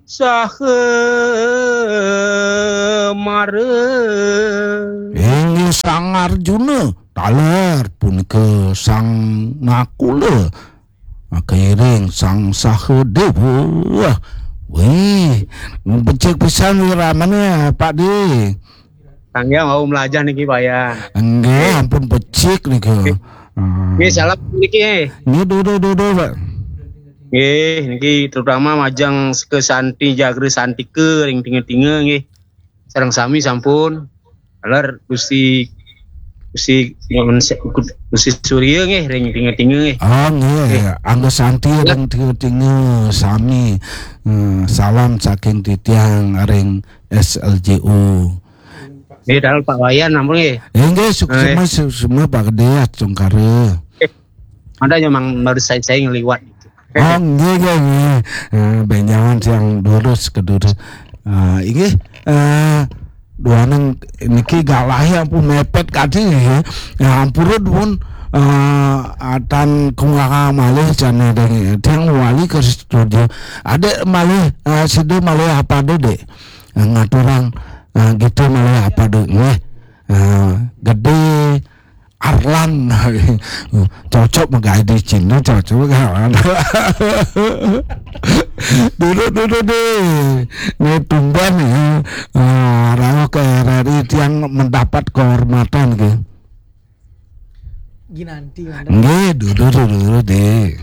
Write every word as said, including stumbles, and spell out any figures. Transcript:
saha mara. Inggih Sang Arjuna, taler punika Sang Nakula, kairing Sang Sahadewa. Wih, becik pisan wiramane, Pak De. Tangga mau melajah niki, Pak, ya. Nggih, ampun becik niki. Ah. Nggih, salam niki, eh. Nggih, dudu, dudu, Pak. Nggih, niki terutama majeng ke Santi Jagra Santika ring tinga-tinga nggih. Sareng sami sampun. Taler Gusti, Gusti, Gusti Surya nggih ring tinga-tinga nggih. Oh, nggih. Nggih. Angga Santi ring tinga-tinga sami. Eh, salam saking titiang ring S L J O. Nggih, taler Pak Wayan ampun nggih. Eh, nggih, suk-, eh, semua, su-, semua Pak Gede, Astungkara. Eh, ada memang baru saya, saya ngeliwat gitu. Oh, nggih, nggih, nggih. Eh, benjangan yang lurus ke dulu. Ah, inggih, eh, duaning niki galah ampun mepet kadi nggih. Ya, ampura dumun, eh, atan kungkang malih jane deng, deng wali ke studio. Adek malih, eh, sida malih apa, Dek? Eh, ngaturang, eh, gitu malih apa, Dek? Nggih. Eh, Gede Arlan. Cocok menggawe di Cina, cocok kan. Dulu, dulu deh. Ini tumben ya. Eh, rauh ke R R I tiang mendapat kehormatan gitu. Ginanti, Mandar. Nggih, dulu, dulu, dulu deh.